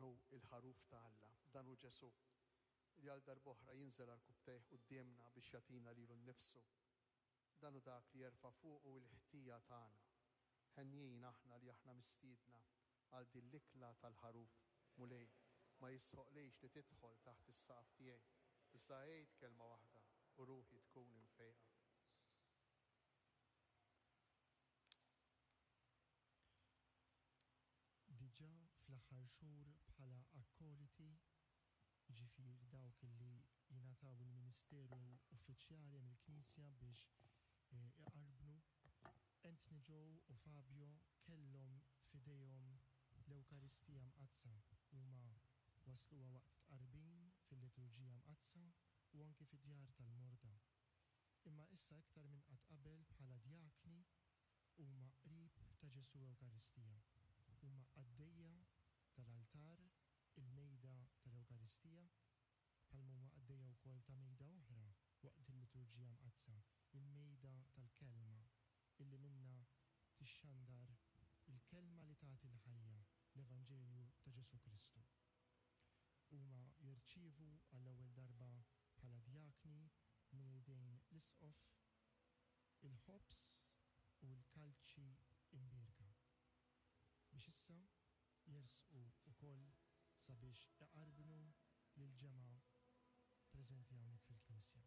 Dan hu l-Ħaruf ta' Alla, dan hu Ġesù, li għal darb'oħra jinżel għarkupptejh quddiemna biex jagħtina lilu nnifsu. Dan hu dak li jerfa' fuqu l-ħtija tagħna. Henjin aħna li aħna mistiedna għal din l-ikla tal-Ħaruf. Mulej, ma jistħoqlix li tidħol taħt is-saqaf tiegħi, iżda għid kelma waħda u ruħi tkun imfejqa. Diġà fl-aħħar xhur bħala akkoliti, jiġifieri dawk li jingħataw il-ministeru uffiċjali mill-Knisja biex iqarbnu, Anthony Joe u Fabio kellhom f'idejhom l-Ewkaristija Mqaddsa. Huma wassluha waqt it-tqarbin fil-Liturġija Mqaddsa u anki fid-djar tal-morda. Imma issa iktar minn qatt qabel bħala djakni huma qrib ta' Ġesù Ewkaristija. Huma qaddejja tal-altar, il-mejda tal-Ewkaristija, bħalma huma qaddejja wkoll ta' mejda oħra waqt il-Liturġija Mqaddsa, il-mejda tal-Kelma, illi minnha tixxandar il-Kelma li tagħti l-ħajja, l-Evanġelju ta' Ġesù Kristu. Huma jirċievu għall-ewwel darba bħala djakni minn idejn l-Isqof il-ħobż u l-kalċi imbierka, biex issa jersqu wkoll sabiex iqarbnu lill-ġemgħa preżenti hawnhekk fil-knisja.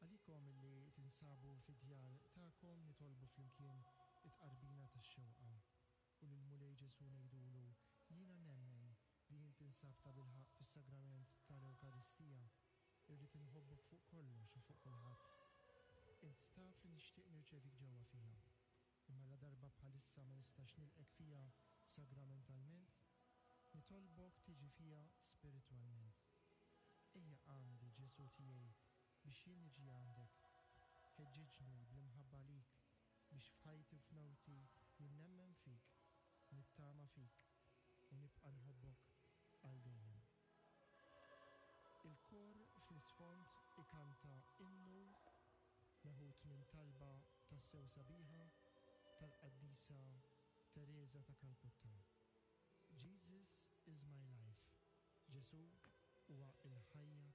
Għalikom li tinsabu fid-djar tagħkom nitolbu flimkien it-tqarbina tax-xewqa u lill-Mulej Ġesù ngħidulu, Jiena nemmen li int tinsab tabilħaqq fis-sagrament ta' l-Ewkaristija. Irrid inħobbok fuq kollox u fuq kulħadd. Int taf li nixtieq nirċevik ġewwa fija. Imma ladarba bħalissa ma nistax nilqgħek fija sagramentalment, nitolbok tiġi fija spiritwalment. Ejja għandi, Ġesù tiegħi, biex jien niġi għandek. Ħeġġiġni bl-imħabba għalik biex f'ħajti u f'mewti jien nemmen fik, nittama fik u nibqa' nħobbok għal dejjem. Il-kor fl-isfond ikanta innu meħud minn talba tassew sabiħa tal-Qaddisa Tereża ta' Kalkutta, Jesus is my life, Ġesù huwa l-ħajja tiegħi.